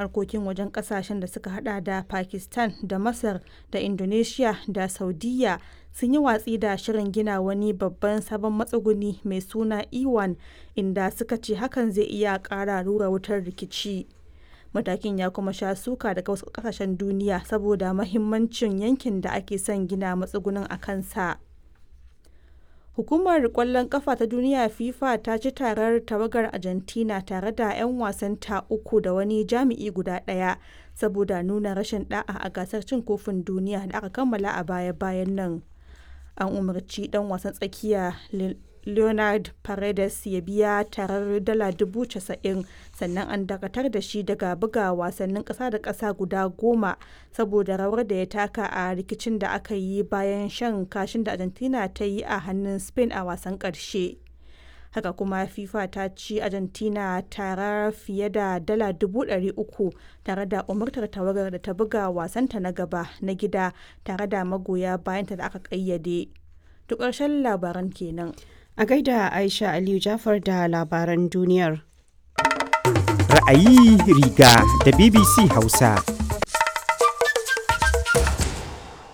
Harkokin wajen kasashen da suka hada da Pakistan da Masar da Indonesiya da Saudiyya sun yi watsi da shirin gina wani babban sabon matsuguni mai suna E1, inda suka ce hakan zai iya kara rura wutar rikici. Matakin ya kuma sha suka daga wasu kasashen duniya saboda mahimmancin yankin da ake son gina matsugunin a kansa. Hukumar Kwallon Kafa ta Duniya (FIFA) ta ci tarar tawagar Argentina tare da 'yan wasanta uku da wani jami'i guda ɗaya saboda nuna rashin ɗa'a a gasar Cin Kofin Duniya da aka kammala a baya-bayan nan. An umarci ɗan wasan tsakiya Leonard Paredes ya biya tarar dala 90,000 sannan an dakatar da shi daga buga wasannin ƙasa da ƙasa guda goma saboda rawar da ya taka a rikicin da aka yi bayan shan kashin da Argentina ta yi a hannun Spain a wasan ƙarshe. Haka kuma FIFA ta ci Argentina tarar fiye da dala 300,000 tare da umartar tawagar da ta buga wasanta na gaba na gida tare da magoya bayanta da aka ƙayyade. To ƙarshen labaran kenan. A gaida Aisha Aliyu Jafar da labaran duniyar. Ra'ayi riga da BBC Hausa.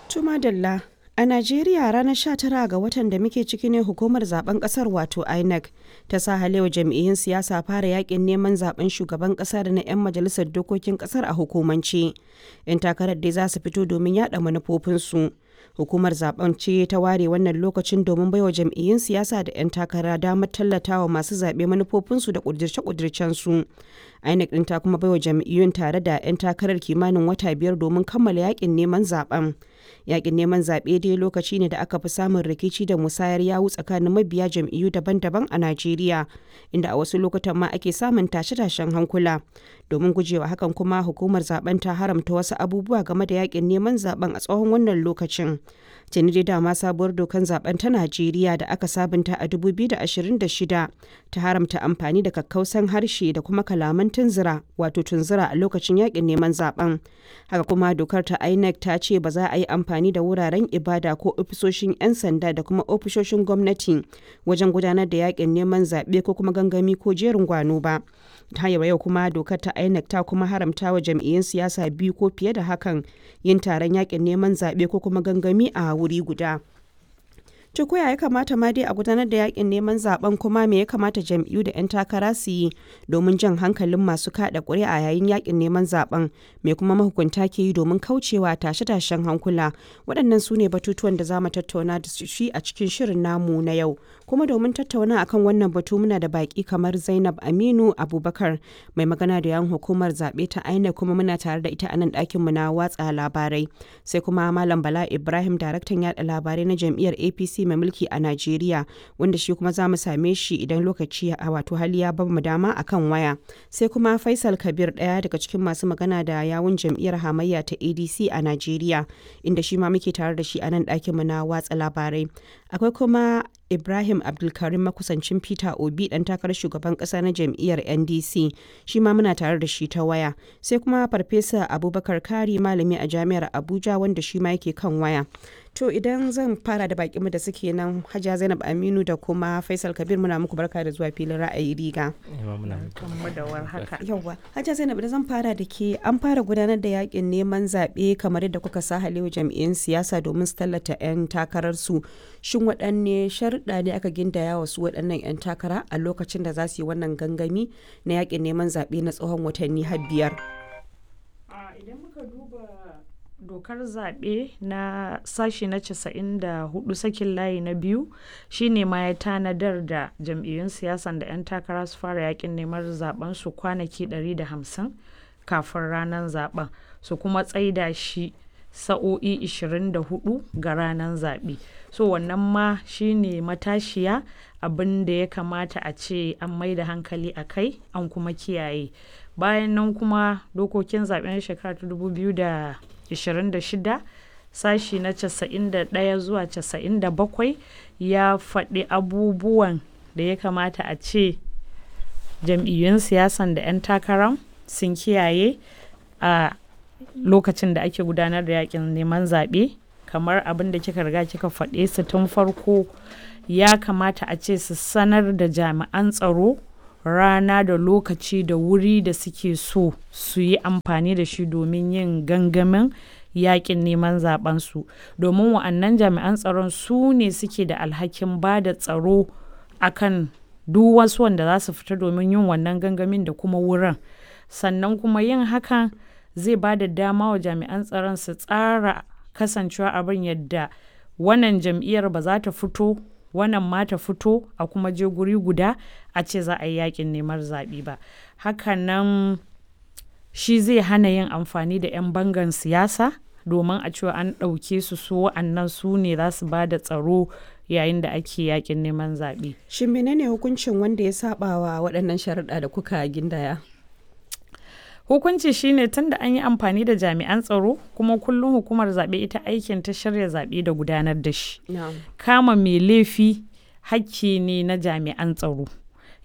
Tumadalla A Najeriya ranar 19 ga watan da muke ciki ne hukumar zaben kasar wato INEC ta sa halewa jam'iyyun siyasa fara yakin neman zaben shugaban kasa da na 'yan majalisar dokokin kasar a hukumance. 'Yan takarar dai za su fito domin yada manufofinsu. Hukumar zaben ce ta ware wannan lokacin domin baiwa jam'iyyun siyasa da 'yan takara damar tallatawa masu zaɓe manufofinsu da ƙudirce-ƙudircensu. INEC ɗin ta kuma baiwa jam'iyyun tare da 'yan takarar kimanin wata 5 domin kammala yakin neman zaben. Yakin neman zaɓe dai lokaci ne da aka fi samun rikici da musayar yawu tsakanin mabiya jam'iyyu daban-daban a Najeriya, inda a wasu lokutan ma ake samun tashe-tashen hankula. Domin gujewa hakan kuma hukumar zaben ta haramta wasu abubuwa game da yakin neman zaben a tsawon wannan lokacin. Tuni dai dama sabuwar dokan zaben ta Najeriya da aka sabunta a 2026 ta haramta amfani da kakkausan harshe da kuma kalaman tunzura wato tunzura a lokacin yakin neman zaben. Haka kuma dokar ta INEC ta ce ba za a yi amfani da wuraren ibada ko ofisoshin 'yan sanda da kuma ofisoshin gwamnati wajen gudanar da yakin neman zaɓe ko kuma gangami ko jerin gwano ba. Ta yau kuma dokar ta INEC ta kuma haramta wa jam'iyyun siyasa biyu ko fiye da hakan yin taron yakin neman zaɓe ko kuma gangami a wuri guda. To ko ya kamata ma dai a gudanar da yakin neman zaben, kuma me ya kamata jam'iyyu da 'yan takara su yi domin jan hankalin masu kada ƙuri'a yayin yakin neman zaben, me kuma mahukunta ke yi domin kaucewa tashe-tashen hankula? Waɗannan su ne batutuwan da za mu tattauna da shi a cikin shirin namu na yau. Kuma domin tattauna akan wannan batu muna da baki kamar Zainab Aminu Abubakar, mai magana da yan hukumar zaɓe ta INEC, kuma muna tare da ita a nan ɗakin mu na watsa labarai. Sai kuma Malam Bala Ibrahim, daraktan yaɗa labarai na jam'iyyar APC mai mulki a Najeriya, wanda shi kuma za mu same shi idan lokaci a wato hali ya bamu dama akan waya. Sai kuma Faisal Kabir, ɗaya daga cikin masu magana da yawun jam'iyyar hamayya ta ADC a Najeriya, inda shi ma muke tare da shi a nan ɗakin mu na watsa labarai. Akwai kuma Ibrahim Abdulkarim, makusancin Peter Obi, dan takarar shugaban kasa na jam'iyyar NDC, shi ma muna tare da shi ta waya. Sai kuma Farfesa Abubakar Kari, malami a Jami'ar Abuja, wanda shi ma yake kan waya. To idan zan fara da bakinmu da suke nan, Hajiya Zainab Aminu da kuma Faisal Kabir, muna muku barka da zuwa filin Ra'ayi Riga. Yawwa, Hajiya Zainab, da zan fara da ke, an fara gudanar da yakin neman zaɓe kamar yadda kuka sa halewa jam'iyyun siyasa domin su tallata 'yan takararsu. Shin waɗanne sharuɗa ne aka gindaya wa su waɗannan 'yan takara a lokacin da za su yi wannan gangami na yakin neman zaɓe na tsawon watanni har 5? Idan muka duba dokar zaɓe na sashi na 94 sakin layi na biyu, shine ma ya tanadar da jam'iyyun siyasan da 'yan takara su fara yakin neman zaben su kwanaki 150 kafin ranar zaben, su kuma tsaida shi sa'o'i 24 ga ranar zaɓe. So wannan ma shine matashiya abin da ya kamata a ce an mai da hankali a kai an kuma kiyaye. Bayan nan kuma dokokin zaɓen shekara ta 2026 sashi na 91 zuwa 97 ya faɗi abubuwan da ya kamata a ce jam'iyyun siyasan da 'yan takaran sun kiyaye a lokacin da ake gudanar da yakin neman zaɓe. Kamar abin da kika riga kika faɗe su tun farko, ya kamata a ce su sanar da jami'an tsaro rana da lokaci da wuri da suke so su yi amfani da shi domin yin gangamin yakin neman zabensu, domin wa'annan jami'an tsaron su ne suke da alhakin ba da tsaro akan duk wasu wanda za su fita domin yin wannan gangamin da kuma wurin. Sannan kuma yin hakan zai ba da dama wa jami'an tsaron su tsara kasancewa abin yadda wannan jam'iyyar ba za ta fito, wannan ma ta fito, a kuma je guri guda a ce za a yi yakin neman zaɓe ba. Hakanan shi zai hana yin amfani da 'yan bangan siyasa domin a cewa an ɗauke su, su wa'annan su ne za su ba da tsaro yayin da ake yakin neman zaɓe. Shin menene hukuncin wanda ya saba wa waɗannan sharuɗa da kuka gindaya? Hukunci shine, tunda an yi amfani da jami'an tsaro, kuma kullum hukumar zaɓe ita aikin ta shirya zaɓe da gudanar da shi. Kama mai laifi hakki ne na jami'an tsaro.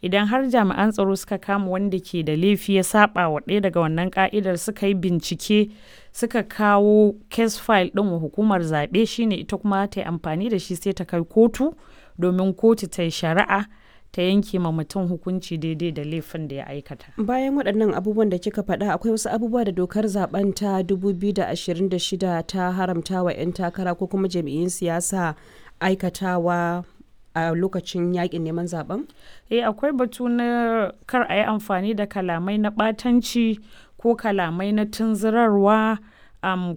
Idan har jami'an tsaro suka kama wanda ke da laifi ya saba wa ɗaya daga wannan ka'idar, suka yi bincike, suka kawo case file ɗin wa hukumar zaɓe, shine ita kuma ta yi amfani da shi sai ta kai kotu domin kotu ta yi shari'a ta yanke ma mutum hukunci daidai da laifin da ya aikata. Bayan waɗannan abubuwan da kika faɗa, akwai wasu abubuwa da dokar zaben ta 2026 ta haramta wa 'yan takara ko kuma jam'iyyun siyasa aikatawa a lokacin yakin neman zaben? Eh, akwai batu na kar a yi amfani da kalamai na ɓatanci ko kalamai na tunzurarwa,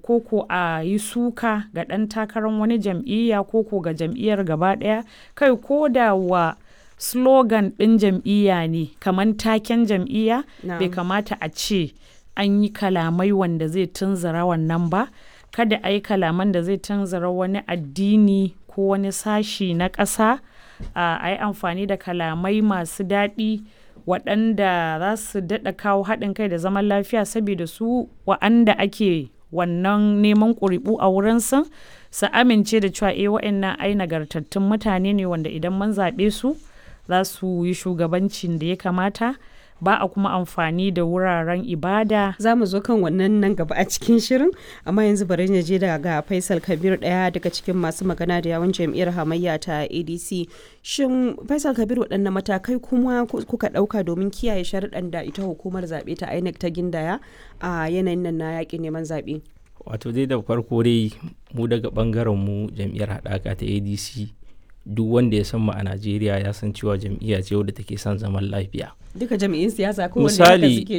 ko a yi suka ga ɗan takarar wani jam'iyya ko ga jam'iyyar gaba ɗaya, kai ko da wa slogan ɗin jam'iyya ne, kamar taken jam'iyya, bai kamata a ce an yi kalamai wanda zai tunzura wannan ba. Kada a yi kalaman da zai tunzura wani addini ko wani sashi na ƙasa. A yi amfani da kalamai masu daɗi waɗanda za su daɗa kawo haɗin kai da zaman lafiya, saboda su wa'anda ake wannan neman ƙuri'u a wurinsu su amince da cewa eh, wa'annan ai nagartattun mutane ne wanda idan mun zaɓe su za su yi shugabancin da ya kamata. Ba a kuma amfani da wuraren ibada. Za mu zo kan wannan nan gaba a cikin shirin, amma yanzu bari na je daga Faisal Kabir, ɗaya daga cikin masu magana da yawun jam'iyyar hamayya ta ADC. Shin Faisal Kabir, waɗanne matakai kuma kuka ɗauka domin kiyaye sharuɗan da ita hukumar zaɓe ta INEC ta gindaya a yanayin nan na yaƙin neman zaɓe? Wato dai da farko dai, mu daga ɓangaren mu jam'iyyar haɗaka ta ADC, duk wanda ya san mu a Najeriya ya san cewa jam'iyya ce wadda take son zaman lafiya. Duka jam'iyyun siyasa ko Misali